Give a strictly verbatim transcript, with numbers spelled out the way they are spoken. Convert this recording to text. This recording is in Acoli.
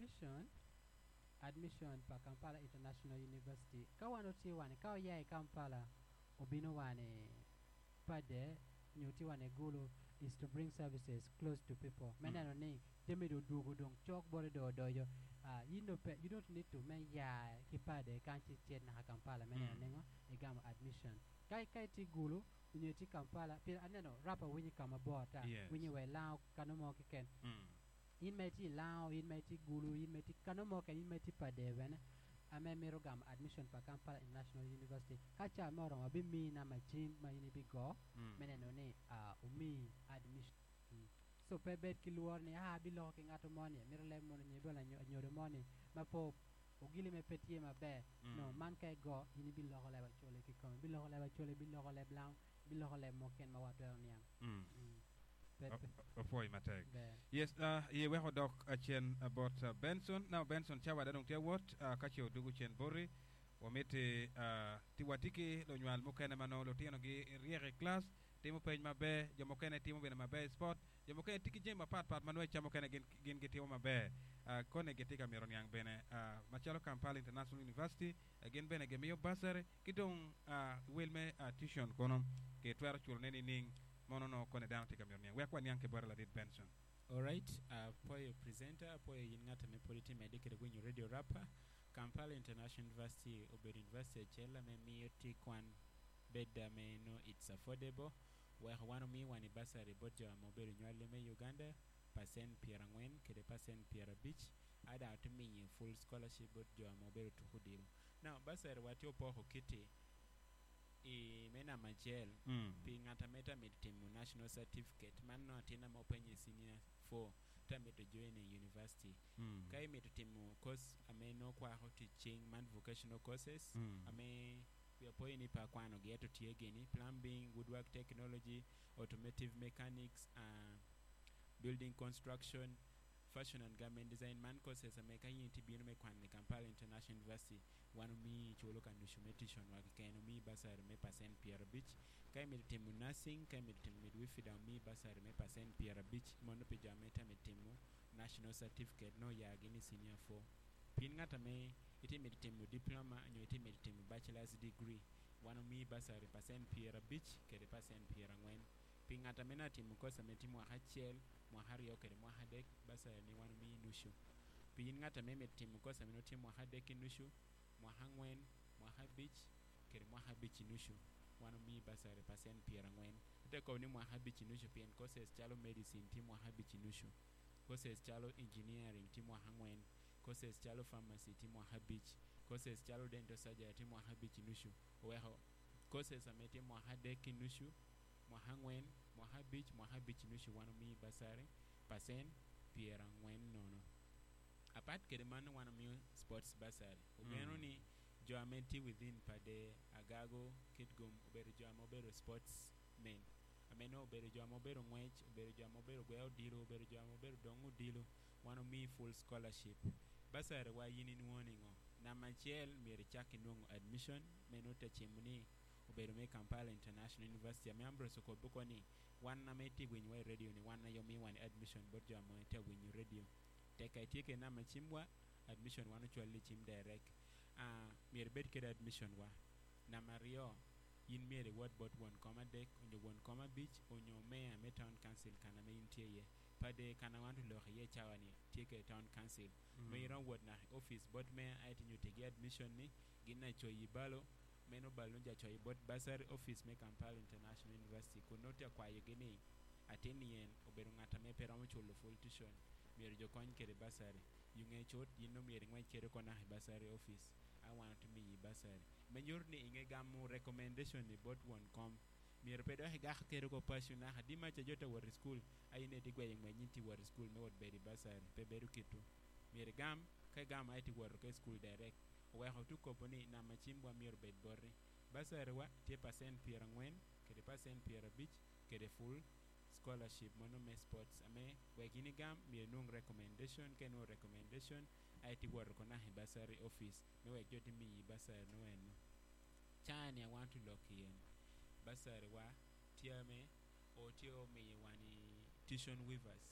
Admission admission pa Kampala International University ka wan otye wani ka oya i Kampala obino wani Pader nyo tye wani Gulu is to bring services close to people me Mm. neno ni jami do odwogo dong cok bote do odojo uh, you, know, pe, you don't need to me ya ki Pader kan ci cet naka Kampala me neno Mm. ningo igamo admission ka ka itye Gulu onyo itye Kampala pien aneno rapa winyi kama bor ata Yes. winyi wa ilango kano mo keken Mm. in ma itye ilango in ma itye Gulu in ma itye kano mo keken in ma itye Pader bene ame mito gamo admission pa Kampala International University ka ca me oromo abimiyi namba cim ma in ibigo Mm. me neno ni uh, omiyi admission mm. so pe bed ki luoro ni ah abiloko ki ng'ato moni mito leb mono nyo ibolo anyodo moni ma po ogili me pe tye maber Mm. no man ka igo in ibiloko leb Acholi kikome ibiloko leb Acholi ibiloko leb Lango ibiloko leb moken ma watwero niang Mm. mm. pe pe Opwoyi matek. ber Yes, uh, ye weko dok acen about uh, Benson. Now Benson cawa dong tye wot uh, ka ce odugu cen boti wamiti uh, ti watye ki lunywal mukene ma nongo lutino gi ryek i class timo penj maber jo mukene timo bene maber i sport jo mukene tye ki jami mapatpat ma nongo ca mukene gin, gin gitimo maber uh, kone gitye ka mito niang bene uh, macalo Kampala International University uh, gin bene gimiyo bursary ki dong uh, wel me uh, tuition kono kitwero culo ne nining mono no kone dano tye ka mito niang wek waniang ki bote ladit Benson. Alright, uh, poyo presenter, poyo yin ng'ato me podi timo edi kede winyo radio rapper. Kampala International University obedo university acel ame miyo tic kwan bed ame no it's affordable. Weko wan omiyo wan i bursary bot jo ame obedo nywali me Uganda percent pyera angwen kede percent pyera abic ada oti miyo full scholarship bot jo ame obedo tuko odilo. Now bursary wa tye opoko kiti i me namba acel Mm. pi ng'at ame ta mito timo national certificate man no atin ame openyo i senior four ta mito join i university Mm. ka imito timo course ame no kwako tic cing man vocational courses Mm. ame wi apoyo ni pa kwano gi eto tye gini plumbing woodwork technology automotive mechanics uh, building construction fashion and garment design man courses ame ka in tye bino me kwano i Kampala International University wan omiyi culo ka nucu me tuition wa keken omiyi bursary me percent pyera abic ka imito timo nursing ka imito timo midwifery dong omiyi bursary me percent pyera abic mono pi jo ame ta mito timo national certificate no ya gini senior four pien ng'at ame iti mito timo diploma nyo iti mito timo bachelor's degree wan omiyi bursary percent pyera abic kede percent pyera angwen pi ng'at ame na timo course ame tye mwaka acel mwaka aryo kede mwaka adek bursary ni wan omiyi nucu pi in ng'at ame mito timo course ame no tye mwaka adek ki nucu mwaka angwen mwaka abic kede mwaka abic i nucu wan omiyi bursary percent pyera angwen ate kobo ni mwaka abic i nucu pien courses calo medicine tye mwaka abic i nucu courses calo engineering tye mwaka angwen courses calo pharmacy tye mwaka abic courses calo dental surgery tye mwaka abic i nucu oweko courses ame tye mwaka adek ki nucu mwaka angwen mwaka abic mwaka abic i nucu wan omiyi bursary percent pyera angwen nono apat kede man wan omiyo sports bursary ogeno Mm. ni jo ame tye within Pader Agago Kitgum obedo jo ame obedo sports men ame no obedo jo ame obedo ngwec obedo jo ame obedo gweo odilo obedo jo ame obedo dongo odilo wan omiyi full scholarship bursary wa in inwongo ningo namba acel myero icak inwongo admission meno te cimo ni obedo me Kampala International University ame Ambrose okobo ko ni wan ame itye winyo wa i radio ni wan aye omiyo wan admission bot jo ame tye winyo radio tek ka itye kede namba cim wa admission wan ocwali i cim direct uh, myero ibed kede admission wa namba aryo in myero iwot bot won kom adek onyo won kom abic onyo mayor me town council kana ma in tye iye Pader kana wan oloko iye cawa ni tye kede town council Mm. ma iromo wot naka i office bot mayor aye nyutigi admission ni gin na coyi balo meno balo ja coyi bot bursary office me Kampala International University kun nongo tye akwayogi ni atin yen obedo ng'at ame pe romo culo full tuition myero jo kony kede bursary yunge cut in no myero ingwec kede oko naka i bursary office a wan otimiyi bursary me nyuto ni inge gamo recommendation ni bot won kom myero pe dok igako kede oko paco naka di maca jo te wot i school a in edi gweyo ngwec ni tye wot i school me wot bedo i bursary pe bedo kitu myero igam ka igamo aye ti woto ke school direct oweko tu kobo ni namba cim wa myero obed boti bursary wa tye percent pyera angwen kede percent pyera abic kede full scholarship mono me sports ame wek in igam myero inwong recommendation ka inwongo recommendation aye ti woto ko naka i bursary office me wek jo ti miyi bursary no eno cani a wan tulok yen bursary wa tye ame o tye omiyo wan i tuition waivers